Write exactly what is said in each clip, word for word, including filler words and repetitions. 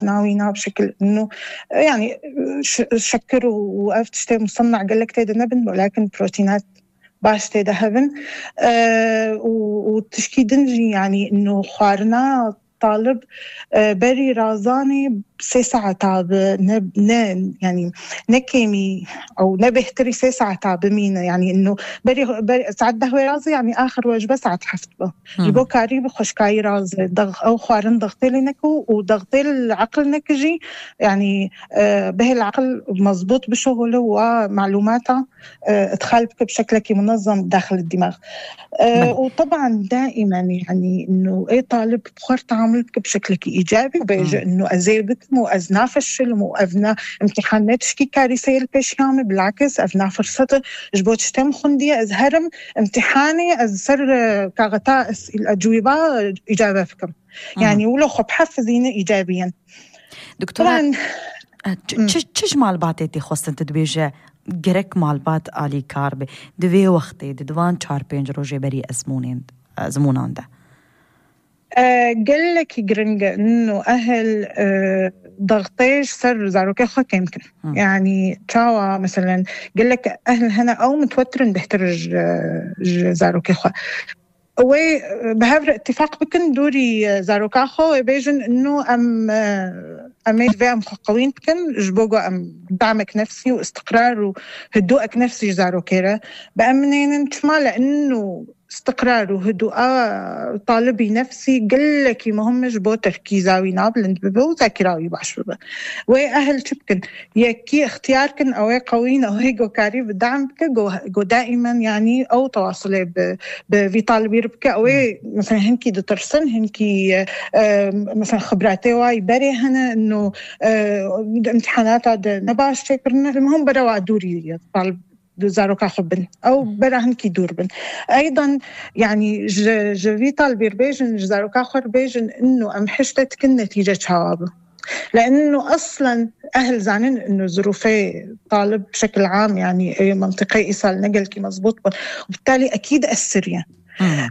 ناوينا بشكل إنه يعني شكر ووقفت شتى مصنع قال لك تيدا نبن ولكن بروتينات باش تيدا هبن أه وتشكي دنجي يعني إنه خوارنا طالب أه بري رازاني سي ساعة تاب نب ن يعني نكيمي أو نبهتري سي ساعة تاب مينا يعني إنه بري بري ساعة دهوي رازي يعني آخر وجبة ساعة حفتبه جبو كاري بخش كاي راز ضغ أو خوارن ضغطي لنكو وضغطي العقل نكجي يعني آه به العقل مزبوط بشغله ومعلوماته آه تخالبك بشكلك منظم داخل الدماغ آه وطبعا دائما يعني إنه أي طالب بخور تعاملك بشكلك إيجابي وبيجي إنه أزيبك مو أزنا فشل مو أفنا امتحانات شكي كارثة البيشيامي بالعكس أفنا فرصة جبوت شتم خندية أزهرم امتحاني أزسر كاغتا الأجوبة إجابة فكم يعني ولو خب حفزيني إيجابيا دكتورة تشج مال باتيتي خواستن تدبيجة جرك مال بات آلي كاربي دوي وقتي دوان چار پنج روجي بري أزمونين أزمونان ده أه قال لك جرنجة إنه أهل أه ضغطيش سر زاروكي خو كيمكن يعني تشاوا مثلا قال لك أهل هنا أو متوترن بيحترج زاروكي خو وي بهذا اتفاق بكن دوري زاروكا خو بيجن إنه أم أميت في أم قوين بكن جبوجو أم دعمك نفسي واستقرار وهدوءك نفسي زاروكيرا بأمنين تشمال إنه استقرار وهدوء طالبي نفسي قل لك مهمش بو تركيزاوي نابلند ببو ذاكراوي باش ببو وي أهل شبكن يكي اختياركن أو قوين أو هيجو كاري بدعمك جو, جو دائما يعني أو تواصلي بفي طالبي ربك أو مثلا هنكي دترسن هنكي مثلا خبراتي واي بري هنا إنه امتحانات هذا نباش شكرنا المهم بروا دوري طالب زاروكا خبن أو براهن كي دور بن أيضا يعني جوي طالبير بيجن زاروكا خور بيجن إنه أم حشتك النتيجة شوابه لأنه أصلا أهل زانين إنه ظروفي طالب بشكل عام يعني منطقي إيصال نقل كي مزبوط وبالتالي أكيد أثر يعني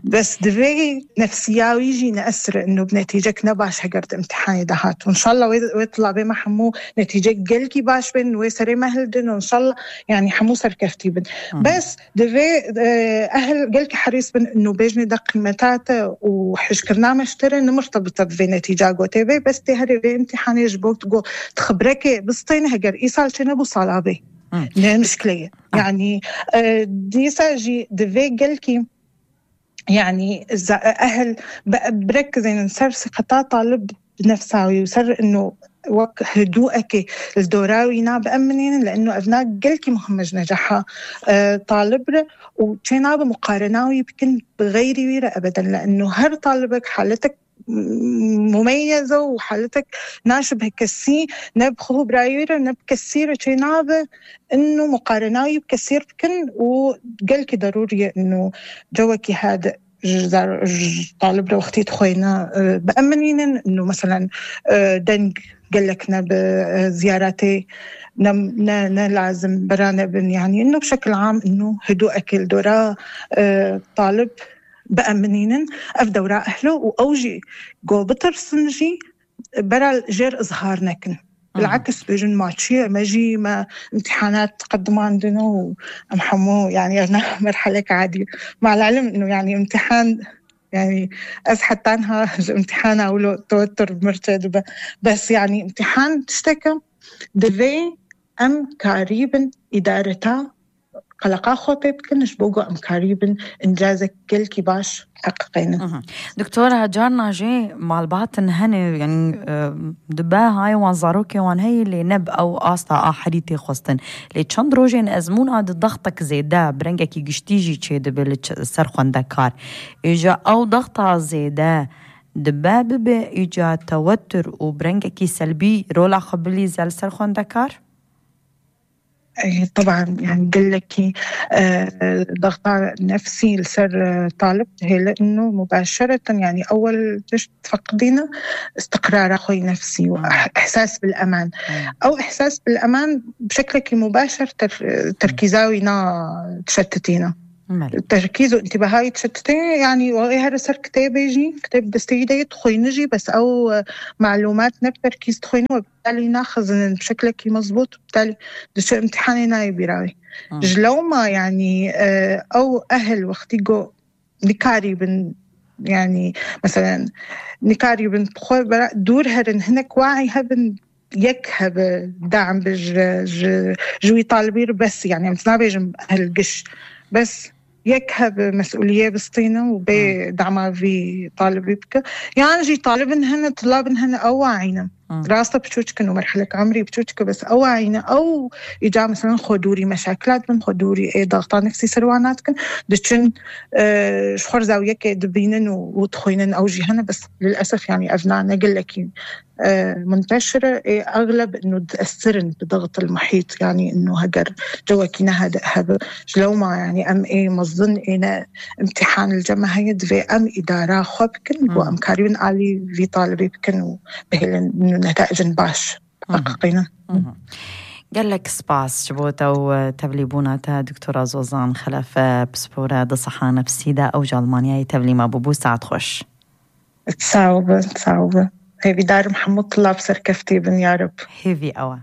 بس دفي نفسياوي يجي نأثر إنه بنتيجك نباش هجرت امتحاني دهات وإن شاء الله ويطلع بما حمو نتيجك قلكي باش بن ويسري مهلدن وإن شاء الله يعني حمو سركفتي بن بس دفي أهل قلكي حريص بن إنه بيجني دق قيمتاته وحشكرنا مشتري إنه مرتبطة بفي نتيجة قوتي بي بس تهري بي امتحاني يجبوك تقول تخبرك بسطين هجر إيصال شنبو صلابي لا مشكلة يعني ديسا جي دفي قلكي يعني أهل بركز إن نصير ثقة طالب بنفسه ويصير إنه هدوءك الدوراوي ناب أمنين لأنه أبناء قلكي مهمج نجاحها طالب وشينا بمقارناوي بكن بغير ويرة أبدا لأنه هر طالبك حالتك مميزة وحالتك ناشبه كسي نبخو برايورة نبكسيرة شينابة إنه مقارناوي بكسير بكن وقالك ضروري إنه جوكي هذا طالب لو اختيت خوينا بأمنين إنه مثلا دنج قالكنا بزياراتي نلازم برانا بن يعني إنه بشكل عام إنه هدوء أكل دورا طالب بأمنين أفدى وراء أهله وأوجي جو بترسنجي برا جير إظهار نكن بالعكس بيجن ماتشي ماجي ما امتحانات تقدم عندنا ومحمو يعني أنا مرحلة عادية مع العلم إنه يعني امتحان يعني أزحت عنها امتحان أولو توتر بمرتد بس يعني امتحان تشتكى دفي أم قريبا إدارتها قلقا خوتي بكنش بوغو أم قريبا إنجازك كل كي باش حققينا دكتورة هجارنا جي مع الباطن هني يعني دبا هاي وان زاروكي وان هاي اللي نب أو آستا آحريتي خوستن اللي چند روجين أزمون عاد ضغطك زيدا برنجا كي قشتيجي چه دبل سرخوان دكار إجا أو ضغطها زيدا دبا ببا إجا توتر وبرنجا كي سلبي رولا خبلي زال سرخوان دكار طبعا يعني قل لك ضغط نفسي لسر طالب هي لأنه مباشرة يعني أول تفقدينا استقرار أخوي نفسي وإحساس بالأمان أو إحساس بالأمان بشكلك مباشر تركيزاوينا تشتتينا التركيز وانتباهي تشتتين يعني وغير سر كتاب يجي كتاب دستيدي تخوي نجي بس أو معلومات نب تركيز تخوي وبالتالي ناخذ بشكل كي مزبوط وبالتالي دش امتحاني ناي براوي جلو ما يعني أو أهل وقتيجو نكاري بن يعني مثلا نكاري بن بخوي برا دور هرن هناك واعي هبن يكهب دعم بج جوي طالبير بس يعني متنابيج هالقش بس يكهب مسؤولية بسطينة وبدعمها في طالبي بك يعني جي طالبن هنا طلابن هنا أواعينا راسة بتشوشك إنه مرحلة عمري بتشوشك بس أواعينا أو إجا مثلا خدوري مشاكلات من خدوري إيه ضغطان نفسي سرواناتكن دشن آه شخور زاوية كدبينن وتخوينن أو جي هنا بس للأسف يعني أبنائنا قلكين آه منتشرة إيه أغلب إنه تأثرن بضغط المحيط يعني إنه هجر جواكينا هذا هذا جلو ما يعني أم إيه مظن إيه امتحان الجامعة دفي أم إدارة خبكن وأم كاريون علي في طالبي بكن وبهلن نتائج باش حقيقينا. قال لك سباس جبوتا وتبليبونا تا دكتورة زوزان خلف بسبورة دصحة نفسيدة أو جالمانيا يتبلي ما بوبو ساعد خوش تصاوب تصاوب هيفي دار محمد طلاب سركفتي بن يا رب هيفي أوا